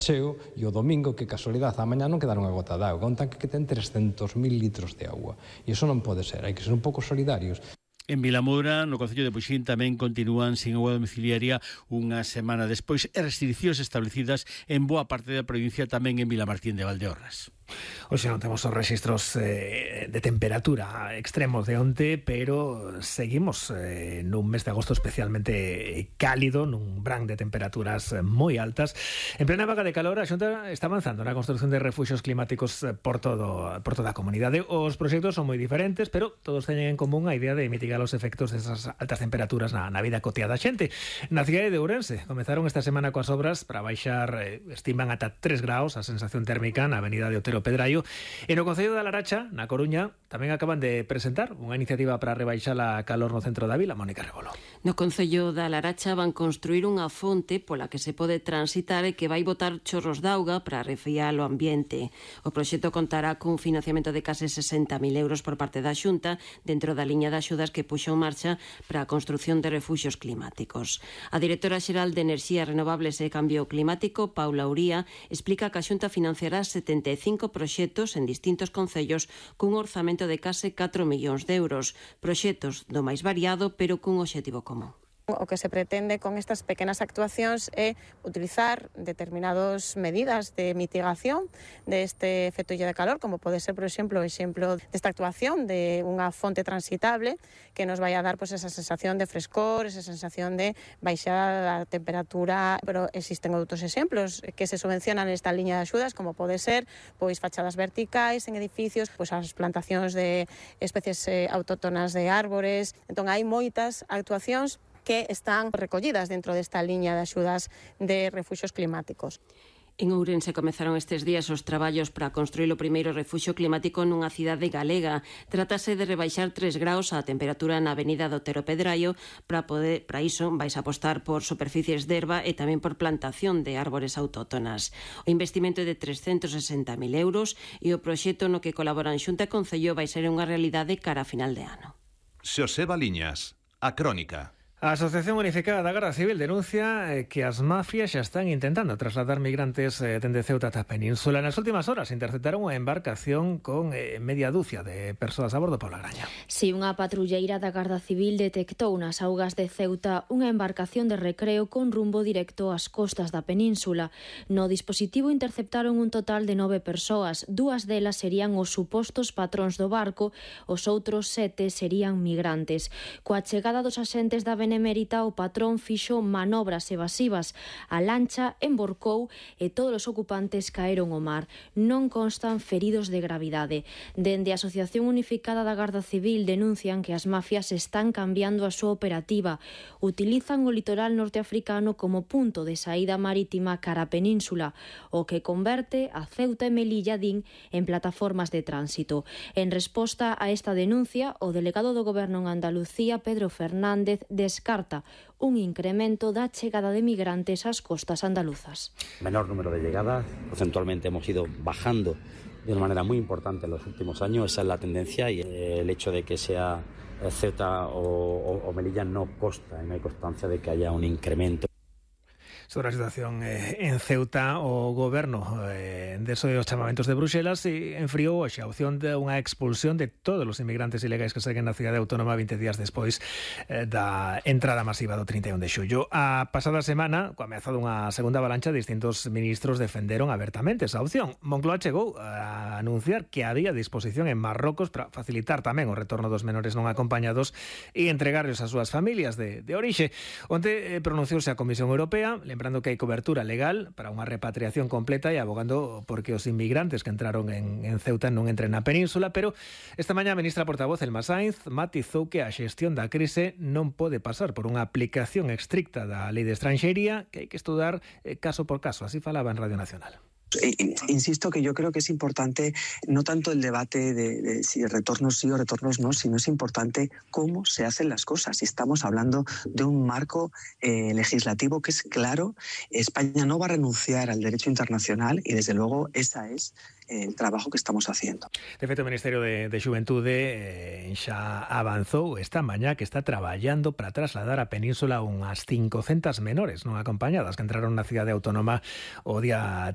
cheo e o domingo, que casualidade, a mañá non quedaron a gota de auga, un tanque que ten 300.000 litros de auga, e iso non pode ser, hai que ser un pouco solidarios. En Vilamoura, no concello de Buxín, tamén continúan sin auga domiciliaria unha semana despois e restriccións establecidas en boa parte da provincia, tamén en Vilamartín de Valdeorras. Hoxe non temos os registros de temperatura extremos de onte, pero seguimos nun mes de agosto especialmente cálido, nun brán de temperaturas moi altas. En plena vaga de calor, a Xunta está avanzando na construción de refuxios climáticos por toda a comunidade. Os proxectos son moi diferentes, pero todos teñen en común a idea de mitigar os efectos desas altas temperaturas na vida cotiá da xente. Na cidade de Ourense comezaron esta semana coas obras para baixar, estiman ata 3 graus a sensación térmica na avenida de Otero Pedraio. E no concello da Laracha, na Coruña, tamén acaban de presentar unha iniciativa para rebaixar a calor no centro da vila. Mónica Rebolo. No concello da Laracha van construir unha fonte pola que se pode transitar e que vai botar chorros de auga para refriar o ambiente. O proxecto contará cun financiamento de case 60.000 euros por parte da Xunta dentro da liña de axudas que puxo en marcha para a construción de refuxios climáticos. A directora xeral de Enerxías Renovables e Cambio Climático, Paula Uría, explica que a Xunta financiará 75 proxectos en distintos concellos cun orzamento de case 4 millóns de euros, proxectos do máis variado pero cun obxectivo común. O que se pretende con estas pequenas actuacións é utilizar determinadas medidas de mitigación deste efecto illa de calor, como pode ser, por exemplo, o exemplo desta actuación de unha fonte transitable que nos vai a dar esa sensación de frescor, esa sensación de baixada da temperatura, pero existen outros exemplos que se subvencionan nesta liña de axudas, como pode ser fachadas verticais en edificios, as plantacións de especies autóctonas de árbores. Entón hai moitas actuacións que están recollidas dentro desta liña de axudas de refuxios climáticos. En Ourense comezaron estes días os traballos para construir o primeiro refuxio climático nunha cidade galega. Trátase de rebaixar 3 graus a temperatura na avenida do Otero Pedraio. Para iso vais apostar por superficies de herba e tamén por plantación de árbores autóctonas. O investimento é de 360.000 euros e o proxecto no que colaboran Xunta e Concello vai ser unha realidade cara a final de ano. Xoseba Liñas, a Crónica. A Asociación Unificada da Garda Civil denuncia que as mafias xa están intentando trasladar migrantes dende Ceuta ata a Península. Nas últimas horas interceptaron unha embarcación con media dúcia de persoas a bordo. Paula Graña. Si, unha patrulleira da Garda Civil detectou nas augas de Ceuta unha embarcación de recreo con rumbo directo ás costas da Península. No dispositivo interceptaron un total de 9 persoas. 2 delas serían os supostos patróns do barco, os outros 7 serían migrantes. Coa chegada dos axentes da Benemérita, o patrón fixo manobras evasivas. A lancha emborcou e todos os ocupantes caeron ao mar. Non constan feridos de gravidade. Dende a Asociación Unificada da Garda Civil denuncian que as mafias están cambiando a súa operativa. Utilizan o litoral norteafricano como punto de saída marítima cara a Península, o que converte a Ceuta e Melilla din en plataformas de tránsito. En resposta a esta denuncia, o delegado do Goberno en Andalucía, Pedro Fernández, descarta un incremento da chegada de migrantes ás costas andaluzas. Menor número de llegadas, porcentualmente hemos ido bajando de una manera muy importante en los últimos años, esa es la tendencia, y el hecho de que sea Ceuta o Melilla no consta, no hay constancia de que haya un incremento. Sobre a situación en Ceuta, o Goberno deso dos chamamentos de Bruxelas enfriou hoxe a opción de unha expulsión de todos os inmigrantes ilegais que seguen na cidade autónoma 20 días despois da entrada masiva do 31 de xullo. A pasada semana, coa ameaza dunha segunda avalancha, distintos ministros defenderon abertamente esa opción. Moncloa chegou a anunciar que había disposición en Marrocos para facilitar tamén o retorno dos menores non acompañados e entregarlos ás súas familias de orixe. Onte pronunciouse a Comisión Europea, lembrando que hai cobertura legal para unha repatriación completa e abogando porque os inmigrantes que entraron en Ceuta non entren na península, pero esta mañá a ministra portavoz Elma Sainz matizou que a xestión da crise non pode pasar por unha aplicación estricta da lei de estranxería, que hai que estudar caso por caso. Así falaba en Radio Nacional. Insisto que yo creo que es importante no tanto el debate de si retornos sí o retornos no, sino es importante cómo se hacen las cosas. Estamos hablando de un marco legislativo que es claro. España no va a renunciar al derecho internacional y desde luego esa es el trabajo que estamos haciendo. De feito, o Ministerio de Xuventude xa avanzou esta mañá que está traballando para trasladar a península unhas 500 menores non acompañadas que entraron na cidade autónoma o día